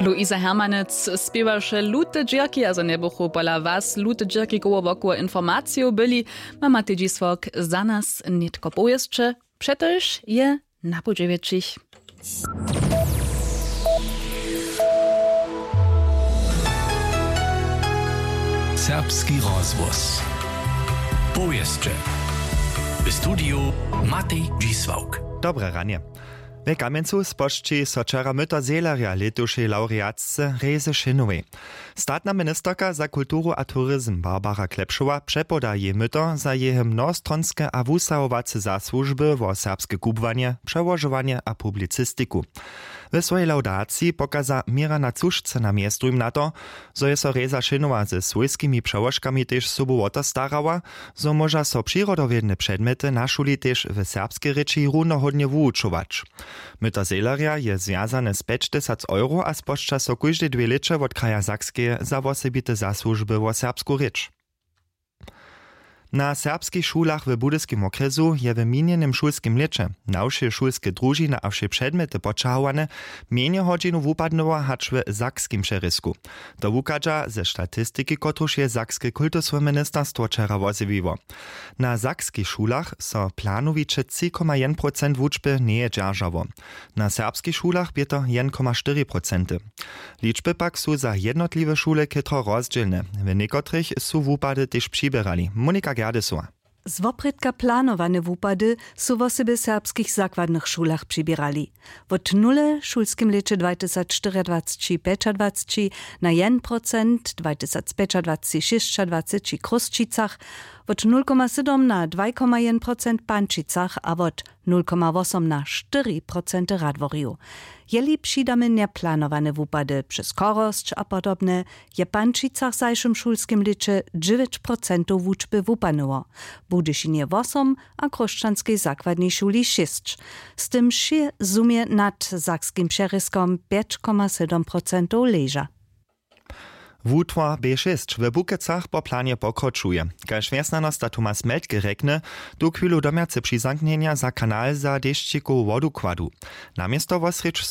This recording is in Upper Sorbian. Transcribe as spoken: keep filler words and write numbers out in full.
Luisa Hermanec spěwaše lute dźěrki a zo njebuchu pola was lute dźěrki koło wokoło informacijow byli, ma matej dźisławk za nas nětko powěsće. Přetož je na pół dźewjećich. Serbski rozhłos. Powěsće. W studiju Matej Dźisławk. Dobre ranje. W Kamjencu spožči so wčera myto zehlerja lětušej lawreatce Rezy Šenowej. Statna ministerka za kulturu a turizm Barbara Klepšowa přepoda jej myto za jeje mnohostronske a wusahowace zasłužby wo serbske kubłanje, přełožowanje a publicistiku. W swojej lawdaciji pokaza měra na cušce na mjeztowim na to, zo je so Reza Šenowa ze swójskimi přełožkami tež sobu wo to starała, zo móža so přirodowědne předmjety na šuli tež w serbskej rěči runohódnje wuwučować. Myto zehlerja je zwjazane z pjećtysac euro a spožča so kóždej dwě lěće wot kraja Sakskeje za wosebite zasłužby wo serbsku rěč. Na serbskich šulach w Budyskim wokrjesu je w minjenym šulskim lěće na wšě šulske družiny a wšě předmjety poćahowane mjenje hodźinow wupadnyło hač w sakskim přerězku. To wuchadźa ze statistiki, kotruž je sakske kultusłe ministerstwo wčera wozjewiło. Na sakskich šulach so planowiće tři koma jedyn procent wučby njeje dźeržało. Na serbskich šulach bě to jedyn koma štyri procenty. Ličby pak su za jednotliwe šule chětro rozdźělne. W někotrych su wupady tež přiběrali. Monika Gerdesowa. Z woprědka planowane wupady su wosebje w serbskich zakładnych šulach přiběrali. Wot nule w šulskim lěće dwajtysacštyriadwaceći pjećadwaceći na jedyn procent, dwajtysacpjećadwaceći šěsćadwaceći w Chrósćicach, wot nul koma sydom na dwaj koma jedyn procent w Pančicach a wot nul koma wosom na štyri procenty w Radworju. Jeli přidamy njeplanowane wupady přez chorosć a podobne, je w Pančicach w zašłym šulskim lěće dźewjeć procentow wučby wupadnyło, w Budyšinje wosom a w Chrósćanskej zakładnej šuli šěsć. Z tym wšě zhumje nad sakskim přerězkom pjeć koma sydom procentow leža. Wutwar B šěsć w Bukecach po planje pokročuje. Kaž wjesnjanosta Thomas Meltke rjekny, tuchwilu domjace přizamknjenja za kanal za dešćikowu wodu kładu. Namjesto wosrjedź